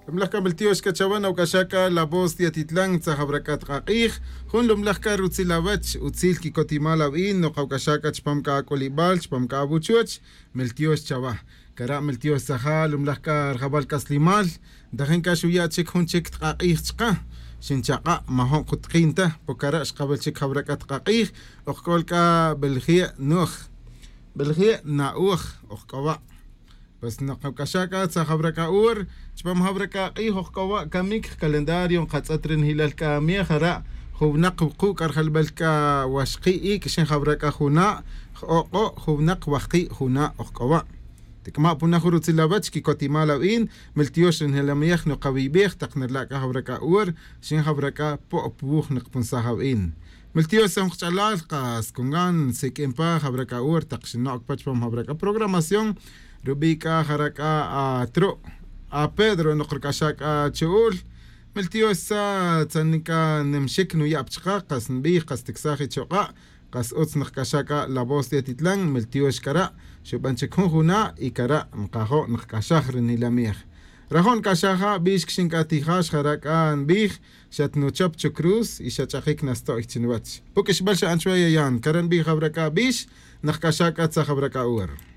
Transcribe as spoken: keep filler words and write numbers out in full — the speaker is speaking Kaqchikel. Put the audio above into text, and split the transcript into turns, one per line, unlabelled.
Lumlaj kab'iltiox kachawan awk'axaka La Voz de Atitlán tzajab'rak'at q'aq'ij jun lumlaj kar utzil awach utzil kikotimal aw'in noqawk'axaka chpam k'ak'olib'al chpam k'awuchuch miltiox chawa kara' miltiox tzaja lumlaj kar jab'al k'aslimal tajin kaxuya chik jun chik tq'aq'ij chqa xinchaq'a' majon qutqinta pokara' xqab'al chik jab'rak'at q'aq'ij uqk'olk'a b'eljie' nuj b'eljie' na'uj uqk'owa' pues noqawk'axaka tzajab'rak'a'ur chpam jab'rak'aq'ij uqk'owa' kamik calendario qatz'at rinjilal k'amiej jara' juwnaq wuqu' k'arjalb'al k'a waxqi' ik' xin jab'rak'a juna' jo'q'o' juwnaq wajqi' juna' uqk'owa' tik'ama' punaj rutzil awach kikotimal aw'in miltiox rinjilamiyaj noqawib'ej taq nirla'ka jab'rak'a'ur xin jab'rak'a po'p wuj niqpunsaj aw'in miltiox qch'alal qas kungan sik'impa jab'rak'a'ur taq xino'k pach pam jab'rak'a programación rub'ika jarak'a a tro' a Pedro noqrk'axak'a chu'ul miltiox sa tzanika nimxik nuya'p chqa qas nb'ij qas tiksaj ichoq'a' qas utz nqk'axak'a La Voz de Atitlán miltiox kara' xub'an chik jun juna' y kara' nqajo' nqk'axaj rinilamiej rajon k'axaja b'ix xink'atijax jarak'a nb'ij xatnuchop chu cruz y xach'ajik nasto'y chinwach puk'ixb'al xa'an chwa yayan kara nb'ij jab'rak'a b'ix nqk'axak'a tzajab'rak'a ur.